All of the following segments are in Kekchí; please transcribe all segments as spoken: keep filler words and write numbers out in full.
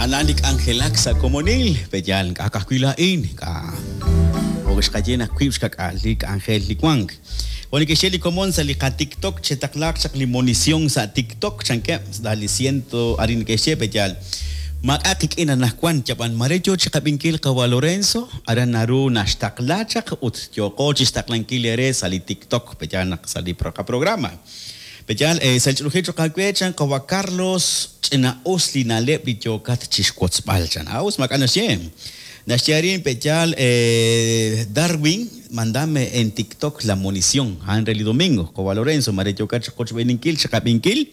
Anan li k'anjelak sa' komonil, pe'yaal ink'a' ka'ajwi' laa'in, ink'a' jo' xqaye naq wiib' xkak'al li k'anjel li wank. Jo' neke'xye li komon sa' li qaTikTok, chetaqlaaq chaq li monición sa' TikTok, chankeb', sa' li ciento arin neke'xye pe'yaal. Maak'a' qik'in anaqwan, yab'an mare yo chiqab'inkil qawa' Lorenzo, aran naru naxtaqla chaq ut yooqo chixtaqlankil eere sa' li TikTok, pe'yaal naq sa' li qaprograma. Pe'yaal, sa' li ch'olojil choq' aawe, chan qawa' Carlos, ch'ina-us li na'leb' li yookat chixwotzb'al, chan. Ah, us maak'a' naxye. Naxye arin, pe'yaal, Darwin, mandame en TikTok la munición, a'an re li domingo, qawa' Lorenzo, mare yookat chiqochb'eeninkil, chiqab'inkil,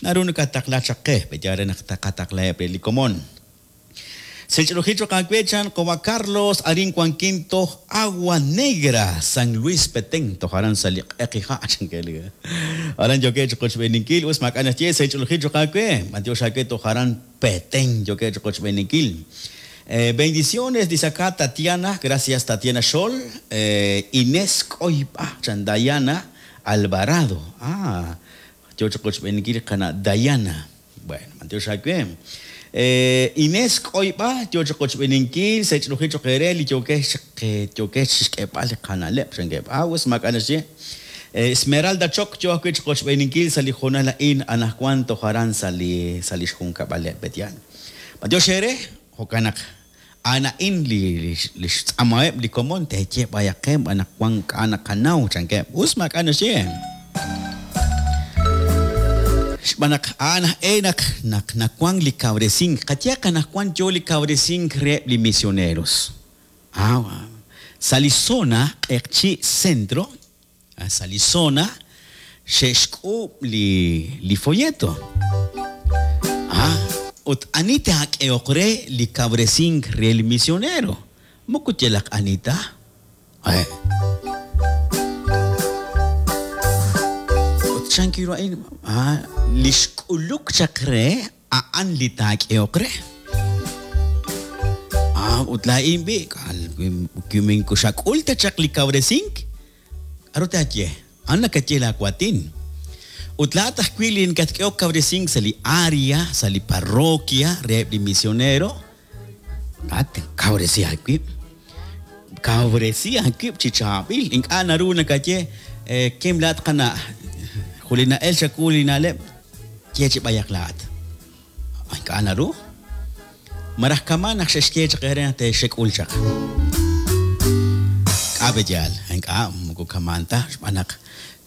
naru nakataqla chaq qe, pe'yaal re naq taqataqlaheb' re li komon. Sa' ch'olojil choq' aawe, chan qawa' Carlos, arin wankin toj Agua Negra, San Luis Petén, toj aran sa' li q'eqi ha', chan ke li. Aran yookeb' chiqochb'eeninkil, us maak'a' naxye, sa' ch'olojil choq' aawe, b'antiox aawe toj aran Petén, yookeb' chiqochb'eeninkil. Eh, bendiciones, dice acá Tatiana, gracias Tatiana Xol, eh, Inés Coipa, chan Dayana Alvarado. Ah, yo chiqochb'eeninkil qana Dayana. Bueno, b'antiox aawe. Eh, Inés Coipa, yo chiqochb'eeninkil, sa' ch'olojil choq' eere li yookex yookex chixk'eeb'al li qana'leb', chan ke. Ah, us maak'a' naxye. Esmeralda Choc, yo ajwi' chiqochb'eeninkil sa' li hoonal a'in anaqwan toj aran sa' li sa' li xjunkab'aleb' Petian. B'antiox eere, jo'kan naq a'an a'in li li xtz'amaheb' li komon teeye b'ayaq qe anaqwan k'a' naqanaw, chan ke. Us maak'a' naxye. Xb'aan naq a'an aj naq naq nawank li kawresink, qayehaq anaqwan yo li kawresink reheb' li misioneros. Ah, sa' li zona Q'eqchi' Centro, sa' li zona xe'xk'uub' li li folleto. Ah, ut ani taak'ehoq re li kawresink re li misionero? Moko yalaq ani ta. Eh. Ut chan kiru a'in, ah, li xk'uluk chaq re a'an li taak'ehoq re. Ah, ut laa'in b'i, wi minku xak'ul ta chaq li kawresink, k'aru taaye? A'an nakaye laawatin. Ut laa'at ajwi' li nakatk'ehok kawresink sa' li área, sa' li parroquia reheb' li misionero, laa'at kawresi aawib'. Kawresi aawib' chi chaab'il. Ink'a' naru nakaye, kim laa'at qana', julina'el chawu li na'leb', ye chi b'ayaq laa'at. Ink'a' naru. Maraj kama' naq xe'xye chaq eere naq te'xek'ul chaq. K'a' pe'yaal, ink'a' moko kamaan ta, xb'aan naq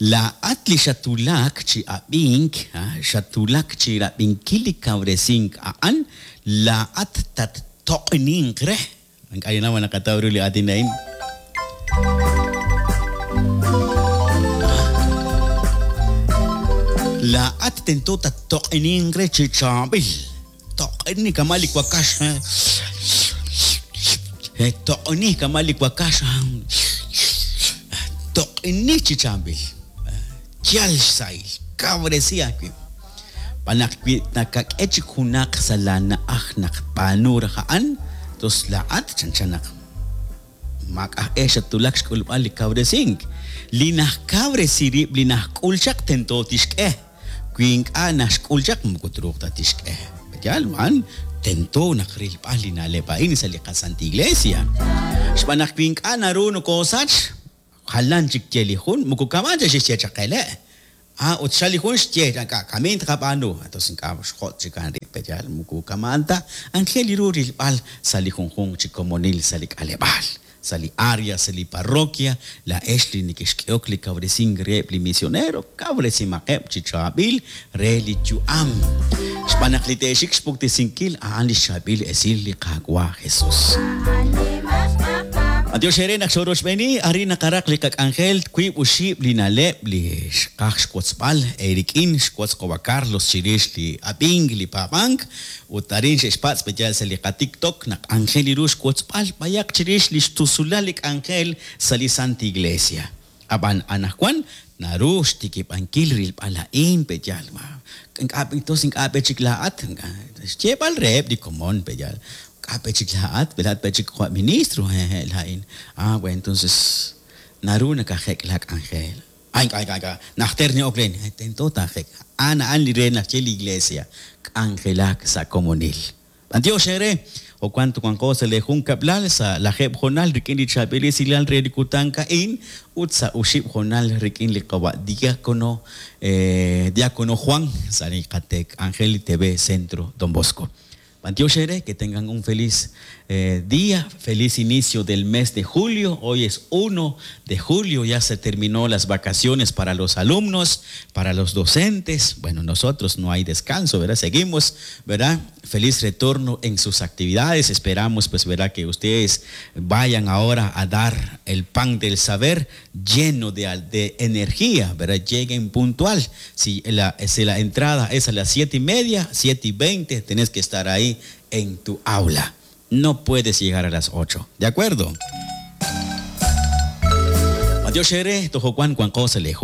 laa'at li xatulak chi ab'ink, xatulak chi rab'inkil li kawresink a'an, laa'at tattoq'ninq re. Ink'a' ninnaw ma naqataw ru li aatin a'in. Laa'at tento tattoq'ninq re chi chaab'il. Toq'ni kama' li wakax. Toq'ni kama' li wakax. Toq'ni chi chaab'il. Yal xsahil, kawresi aawib'. B'aan naq wi nakak'e chik junaq sa' laana'aj naq b'aanu raj a'an, tos laa'at chanchan naq maak'a' e xatulak xk'ulb'al li kawresink. Li najkawresi rib' li najk'ul chaq tento tixk'e. Wi ink'a' naxk'ul chaq moko truuq ta tixk'e. Yaal man, tento naq rilb'al li na'leb' a'in sa' li qaSanta Iglesia. Xb'aan naq wi ink'a' naru nokosach, jalan chik ye li jun, moko kama'an ta xexye chaq ele. Ah, ut xal li jun xye, ink'a' kamiin tqab'aanu. Entonces ink'a' xjot' chik a'an rib' pe'yaal, moko kama'an ta. Anjel li ru rilb'al sa' li junjunq chi komonil sa' li k'aleb'aal, sa' li área, sa' li parroquia, laa'ex li neke'xk'ehok li kawresink reheb' li misionero, kawresimaqeb' chi chaab'il re li yu'am. Xb'aan naq li te'xik xpuktesinkil a'an li xchaab'il esil li Qaawa' Jesus. Adiós eere naq xorochb'eeni, arin naqaraq li qak'anjel wiib' oxib' li na'leb' li xqaj xwotzb'al eerik'in xwotz qawa' Carlos chirix li ab'ink, li paab'ank, ut arin xe'xpatz' pe'yaal sa' li qaTikTok naq anjel li ru xwotzb'al b'ayaq chirix li xtusulal li k'anjel sa' li Santa Iglesia. Ab'an anaqwan naru xtikib'ankil rilb'al a'in pe'yaal. Ink'a' tos ink'a' pe chik laa'at, xyeeb'al reheb' li komon pe'yaal. K'a' pe chik laa'at, laa'at pe chik jo' ministro, hehe laa'in. Ah, bueno, entonces naru nakajek' la k'anjel. Ay, ink'a' ink'a' ink'a' najter ni'ok ren, tento taajek'. A'an a'an li re naxye li Iglesia, k'anjelak sa' komonil. B'antiox eere, jo'kan wanqo sa' le junkab'lal sa' lajeeb' hoonal rik'in li chaab'il esilal re li kutan a'in ut sa' oxib' hoonal rik'in li qawa' diácono eh, diácono Juan sa' li qatek Ángel T V Centro Don Bosco. B'antiox eere, que tengan un feliz eh, día, feliz inicio del mes de julio. Hoy es uno de julio, ya se terminó las vacaciones para los alumnos, para los docentes. Bueno, nosotros no hay descanso, ¿verdad? Seguimos, ¿verdad? Feliz retorno en sus actividades. Esperamos, pues, ¿verdad? Que ustedes vayan ahora a dar el pan del saber lleno de, de energía, ¿verdad? Lleguen puntual. Si la, si la entrada es a las siete y media, siete y veinte, tenés que estar ahí en tu aula. No puedes llegar a las ocho. ¿De acuerdo? B'antiox eere, toj jo'kan wanqo sa' le